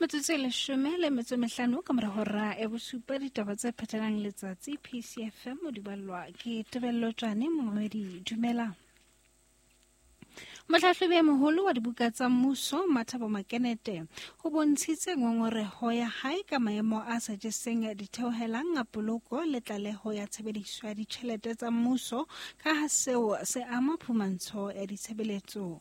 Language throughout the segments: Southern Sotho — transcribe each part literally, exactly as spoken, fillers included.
Metsotso e leshome le metso e mehlano ka mora hora ya bosupa, ditaba tse phethelang letsatsi P C F M di ballwa ke Tebello Tjane. Momamedi, dumela. Mohlahlobi e moholo wa dibuka tsa mmuso Mathabo Makenete o bontshitse ngongoreho ya hae ka maemo a sa jeseng ditheohelang a poloko le tlaleho ya tshebediso ya ditjhelete tsa mmuso ka ha seo se ama phumantsho ya ditshebeletso.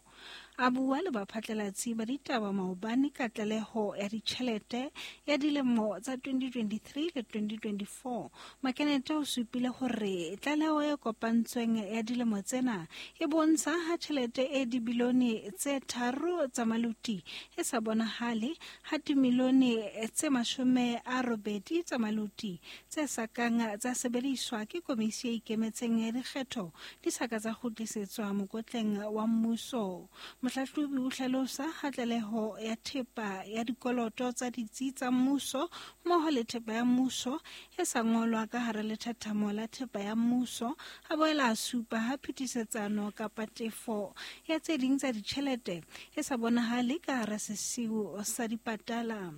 A bua le baphatlalatsi ba ditaba maobane ka tlaleho ya ditjhelete ya dilemo tsa twenty twenty-three le twenty twenty-four. Makenete o supile hore tlaleho e kopantsweng ya dilemo tsena e bontsha ha tjhelete e dibilione tse tharo tsa maluti e sa bonahale, ha dimilione tse mashome a robedi tsa maluti tse sa kang tsa sebediswa ke komisi e ikemetseng ya dikgetho di sa ka tsa kgutlisetswa mokotleng wa mmuso. Mohlahlobi o hlalosa ha tlaleho ya thepa ya dikoloto tsa ditsi tsa mmuso mmoho le thepa ya mmuso e sa ngolwa ka hara lethathamo la thepa ya mmuso, a boela a supa ha phetisetsano kapa tefo ya tse ding tsa ditjhelete e sa bonahale ka hara sesiu sa dipatala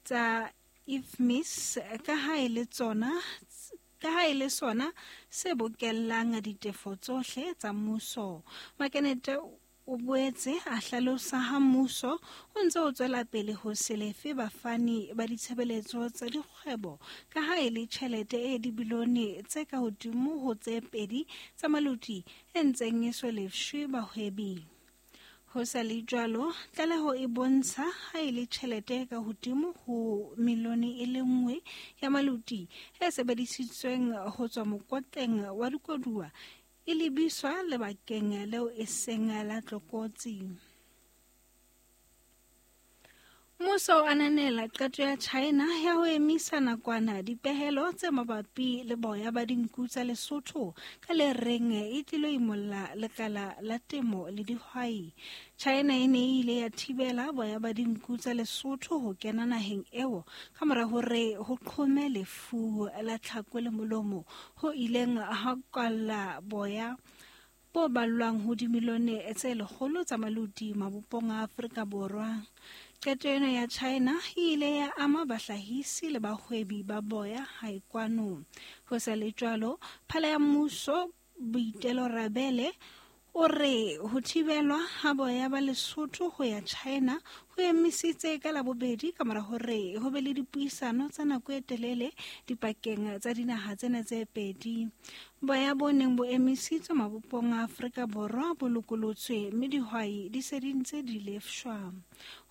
tsa I F M I S ka ha e le tsona ka ha e le sona se bokellang ditefo tsohle tsa mmuso. Makenete o boetse a hlalosa ha mmuso o ntse o tswela pele ho se lefe bafani ba ditshebeletso tsa dikgwebo ka ha e le tjhelete e dibilione tse ka hodimo ho tse pedi tsa maluti e ntseng e so lefshwe bahwebi. Ho sa le jwalo, tlaleho e bontsha ha e le tjhelete ka hodimo ho milione e le nngwe ya maluti e sebedisitsweng ho tswa mokotleng wa dikoduwa e lebiswa lebakeng leo e seng la tlokotsi. Mmuso o ananela qeto ya China ya ho emisa nakwana dipehelo tse mabapi le boya ba dinku tsa Lesotho ka le reng e tlilo imolla lekala la temo le dihwai. China e ne e ile ya thibela boya ba dinku tsa Lesotho ho kena naheng eo ka mora hore ho qhome lefu la tlhako le molomo ho ileng ha kwalla boya bo ballwang ho dimilione tse lekgolo tsa maluti mabopong a Afrika Borwa. Qeto ena ya China e ile ya ama bahlahisi le bahwebi ba boya hae kwano. Ho sa le jwalo, phala ya mmuso Boitelo Rabele o re ho thibelwa ha boya ba Lesotho ho ya China ho emisitse ka Labobedi ka mora hore ho be le dipuisano tsa nako e telele dipakeng tsa dinaha tsena tse pedi. Boya bo neng bo emisitswe mabopong a Afrika Borwa bo lokolotswe mme dihwai di se di ntse di lefshwa.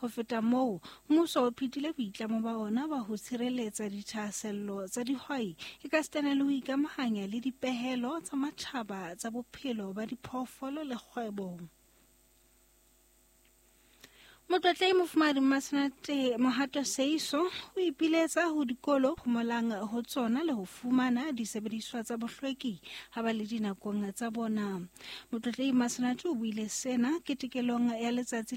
Ho feta moo, mmuso o phethile boitlamo ba ona ba ho tshireletsa dithahasello tsa dihwai ekasitana le ho ikamahanya le dipehelo tsa matjhaba tsa bophelo ba diphoofolo le kgwebo. Motlotlei Mofumahadi Mmasenate Mohato Seiso o ipiletsa ho dikolo phomolang ho tsona le ho fumana disebediswa tsa bohlweki ha ba le dinakong tsa bona. Motlotlei Mmasenate o buile sena ketekelong ya letsatsi